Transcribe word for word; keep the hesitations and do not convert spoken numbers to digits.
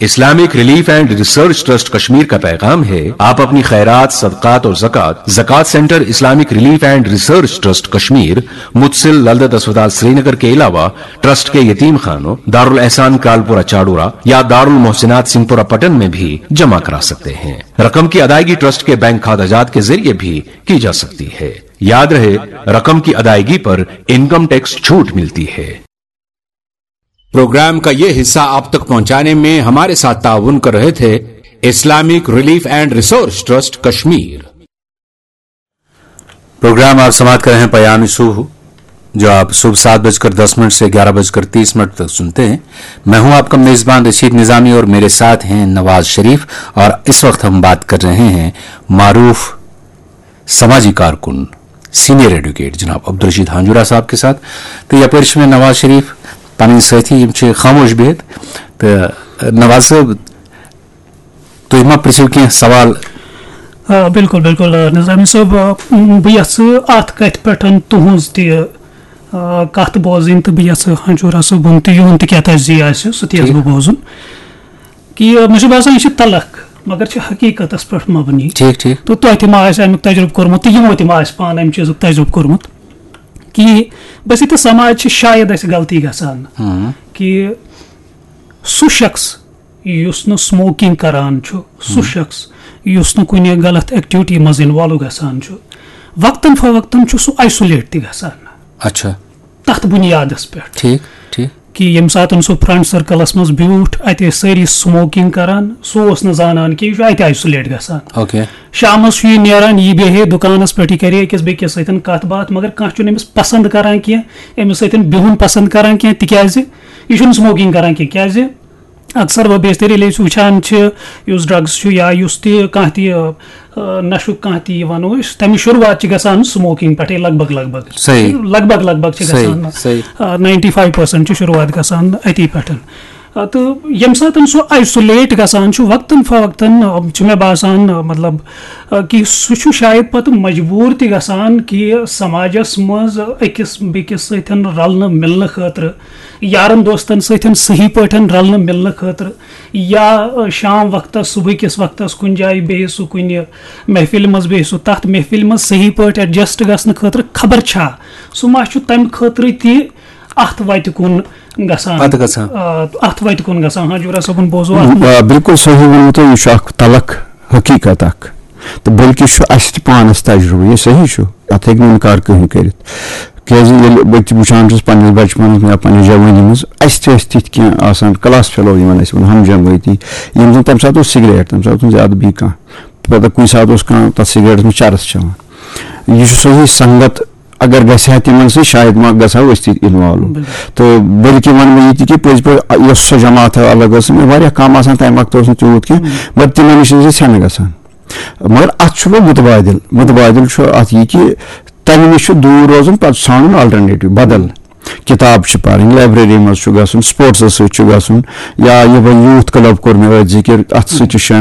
Islamic relief and research trust Kashmir کا پیغام ہے، آپ اپنی خیرات، صدقات اور زکوٰۃ زکوٰۃ centre Islamic relief and research trust Kashmir, متصل للدت اسپتال سرینگر کے علاوہ ٹرسٹ کے یتیم خانوں، دارالاحسان کرالپورہ چاڈورہ یا دارالمحسنات سنگپورہ پٹن میں بھی جمع کرا سکتے ہیں۔ رقم کی ادائیگی ٹرسٹ کے بینک کھاتہ جات کے ذریعے بھی کی جا سکتی ہے۔ یاد رہے، رقم کی ادائیگی پر انکم ٹیکس چھوٹ ملتی ہے۔ پروگرام کا یہ حصہ آپ تک پہنچانے میں ہمارے ساتھ تعاون کر رہے تھے Islamic relief and research trust Kashmir. Programme آپ سماعت کر رہے ہیں پیام صبح، جو آپ صبح سات بج کر دس منٹ سے گیارہ بج کر تیس منٹ تک سنتے ہیں۔ میں ہوں آپ کا میزبان رشید نظامی اور میرے ساتھ ہیں نواز شریف، اور اس وقت ہم بات کر رہے ہیں معروف سماجی کارکن، سینئر ایڈوکیٹ جناب عبدالرشید ہانجورہ صاحب کے ساتھ۔ تو یپٲرۍ چھِ مےٚ نواز شریف پنٕنۍ سٲتھی، یِم چھِ خاموش بِہِتھ۔ تو نواز صٲب، تُہۍ ما پرٛژھِو کینٛہہ سوال؟ آ، بِلکُل، بِلکُل، آ، نظامی صٲب، آ، بہٕ یَژھٕ اَتھ کَتھِ پٮ۪ٹھ تُہٕنٛز تہِ، آ، کَتھ بوزٕنۍ، تہٕ بہٕ یَژھٕ ہانجورہ صٲبُن تہِ یِہُنٛد تہِ کیٛاہ تَجزیہ آسہِ، سُہ تہِ یَژھٕ ٹھیٖک۔ بہٕ بوزُن۔ کہِ مےٚ چھُ باسان، یہِ چھِ تلخ، مگر چھِ حقیٖقتَس پٮ۪ٹھ مبنی۔ ٹھیٖک، ٹھیٖک۔ تہٕ تۄہہِ تہِ ما آسہِ اَمیُک تجرُبہٕ کوٚرمُت، تہٕ یِمو تہِ ما آسہِ پانہٕ اَمہِ چیٖزُک تجرُبہٕ کوٚرمُت۔ کہِ بس یہِ تہٕ سماج چھِ شاید اَسہِ غلطی گژھان، ہاں۔ کہِ سُہ شخص یُس نہٕ سموکنگ کران چھُ، سُہ ہاں۔ شخص یُس نہٕ کُنہِ غلط ایکٹیویٹی منٛز انوالو گژھان چھُ، وقتاً فوقتاً چھُ سُہ آیسولیٹ تہِ گژھان۔ اچھا۔ تتھ بنیادس پٮ۪ٹھ۔ ٹھیٖک، ٹھیٖک۔ کہِ ییٚمہِ ساتہٕ سُہ فرنٹ سرکلس منٛز بیوٗٹھ، اتہِ ٲسۍ سٲری سموکنگ کران، سُہ اوس نہٕ زانان کہِ یہِ چھُ اتہِ آیسولیٹ گژھان۔ اوکے۔ شامس چھُ یہِ نیران، یہِ بیٚہہِ دُکانس پٮ۪ٹھ، یہِ کرِ أکِس بیٚکِس سۭتۍ کتھ باتھ، مگر کانٛہہ چھُنہٕ أمِس پسند کران کینٛہہ، أمِس سۭتۍ بِہُن پسند کران کینٛہہ، تِکیازِ یہِ چھُنہٕ سموکنگ کران کینٛہہ۔ کیازِ؟ اکثر و بیشتر ییٚلہِ أسۍ وٕچھان چھِ، یُس ڈرگز چھُ یا یُس تہِ کانٛہہ تہِ، آ، نشُک کانٛہہ تہِ، یہِ ونو أسۍ، تَمِچ شروٗعات چھِ گژھان سموکنگ پٮ۪ٹھٕے، لگ بگ، لگ بگ۔ صحیح۔ لگ بگ، لگ بگ چھِ صحیح، گژھان۔ صحیح۔ آ، ناینٹی فایو پٔرسنٹ چھِ شروٗعات گژھان أتی پٮ۪ٹھ۔ آ، تہٕ ییٚمہِ ساتہٕ سُہ آیسولیٹ گژھان چھُ، وقتاً فوقتاً، آ، چھُ مےٚ باسان، آ، مطلب، آ، کہِ سُہ چھُ شاید پتہٕ مجبوٗر تہِ گژھان کہِ سماجس منٛز أکِس بیٚکِس سۭتۍ رلنہٕ مِلنہٕ خٲطرٕ، یارن دوستن سۭتۍ صحیح پٲٹھۍ رلنہٕ مِلنہٕ خٲطرٕ، یا، آ، شام وقتس، صبح کِس وقتس کُنہِ جایہِ بیٚہہِ سُہ کُنہِ محفلہِ منٛز، بیٚہہِ سُہ تتھ محفلہِ منٛز صحیح پٲٹھۍ ایڈجسٹ گژھنہٕ خٲطرٕ، خبر چھا سُہ ما چھُ تمہِ خٲطرٕ تہِ اتھ وتہِ کُن گژھان۔ پتہٕ گژھان۔ آ، اتھ وتہِ کُن گژھان۔ ہاں، جورا صٲبُن بوزو اتھ منٛز۔ آ، بِلکُل صحیح ووٚنوٕ تۄہہِ، یہِ چھُ اکھ تلخ حقیٖقت اکھ۔ تہٕ بلکہِ چھُ اَسہِ تہِ پانَس تجرُبہٕ، یہِ صحیح چھُ، اَتھ ہیٚکہِ نہٕ اِنکار کٕہٕنۍ کٔرِتھ۔ کیٛازِ ییٚلہِ بہٕ تہِ وٕچھان چھُس پنٛنِس بچپنَس منٛز یا پنٛنہِ جوٲنی منٛز، اَسہِ تہِ ٲسۍ تِتھۍ کینٛہہ آسان، کلاس فیلو یِمَن أسۍ وَنو، ہم جمٲعتی، یِم زَن تَمہِ ساتہٕ اوس سِگریٹ، تَمہِ ساتہٕ اوس نہٕ زیادٕ بیٚیہِ کانٛہہ۔ پَتہٕ کُنہِ ساتہٕ اوس کانٛہہ تَتھ سِگریٹَس منٛز چَرٕس چٮ۪وان۔ یہِ چھُ صحیح سنگت، اگر گژھِ ہا تِمَن سۭتۍ، شاید ما گژھٕ ہاو أسۍ تہِ اِنوالو۔ بِلکُل۔ تہٕ بلکہِ وَنہٕ بہٕ یہِ تہِ کہِ پٔزۍ پٲٹھۍ یۄس سۄ جماعت الگ ٲس، مےٚ واریاہ کَم آسان، تَمہِ وقتہٕ اوس نہٕ تیوٗت کینٛہہ، مگر تِمَن نِش ٲسۍ أسۍ ہٮ۪نہٕ گژھان۔ مگر اتھ چھُ وۄنۍ متبادل، متبادل چھُ اتھ یہِ کہِ تمہِ نِش چھُ دوٗر روزُن، پتہٕ ژھانڈُن آلٹرنیٹو، بدل۔ کتاب چھِ پرٕنۍ، لایبریری منٛز چھُ گژھُن، سپورٹسس سۭتۍ چھُ گژھُن، یا یہِ وۄنۍ یوٗتھ کلب کوٚر مےٚ أتھۍ ذِکر، اتھ سۭتۍ چھُ شٲمِل۔